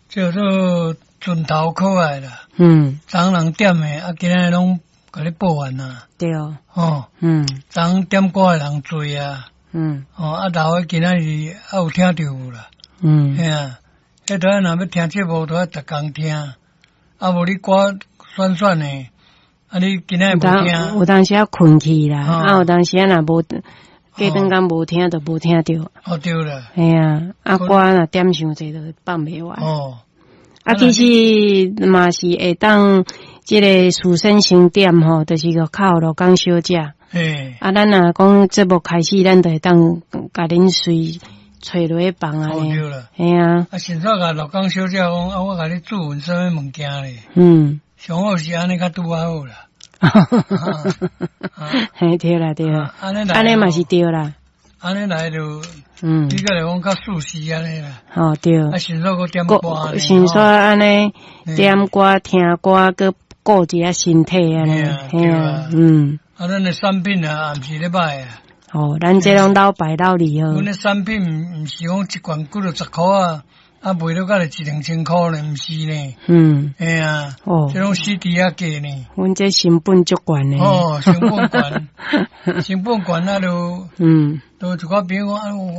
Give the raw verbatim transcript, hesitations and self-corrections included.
叫做陣頭可愛啦。嗯。昨人點的，啊，今仔日攏共你報完啦。對。哦。嗯。昨點歌的人濟啊。嗯。哦，啊，老的今仔日猶有聽著無啦？嗯。嘿啊，彼陣若欲聽節目，都愛逐工聽。啊，無你歌選選的，啊，你今仔日無聽。有當時仔睏去啦，啊，有當時仔若無過轉工無聽，就無聽著。哦，對啦。嘿啊，啊歌若點傷濟，就放袂完。哦。啊，其實嘛是會當這个事先先點吼，就是個敲羅江小姐。嘿。啊，咱若講節目開始，咱就會當共恁隨揣落去放啊。哦，對啦。嘿啊。啊，先煞共羅江小姐講，啊，我共你注文啥物物件咧？嗯。上好是按呢較拄仔好啦。嘿，對啦對啦。按呢按呢嘛是對啦。按呢來就，嗯，比較來講較舒適按呢啦。哦，對。啊，先煞閣點歌，先煞按呢點歌聽歌，閣顧一下身體按呢，嘿啊，嗯。啊，咱的產品啊，毋是咧歹啊。哦，咱這攏老牌老利號。阮的產品毋是講一罐幾落十箍仔，啊賣了甲一兩千箍呢，毋是呢。嗯。嘿啊。哦。這攏死豬仔價呢。阮這成本足懸的。哦，成本懸，成本懸啊，就嗯。就一寡朋友講啊，我。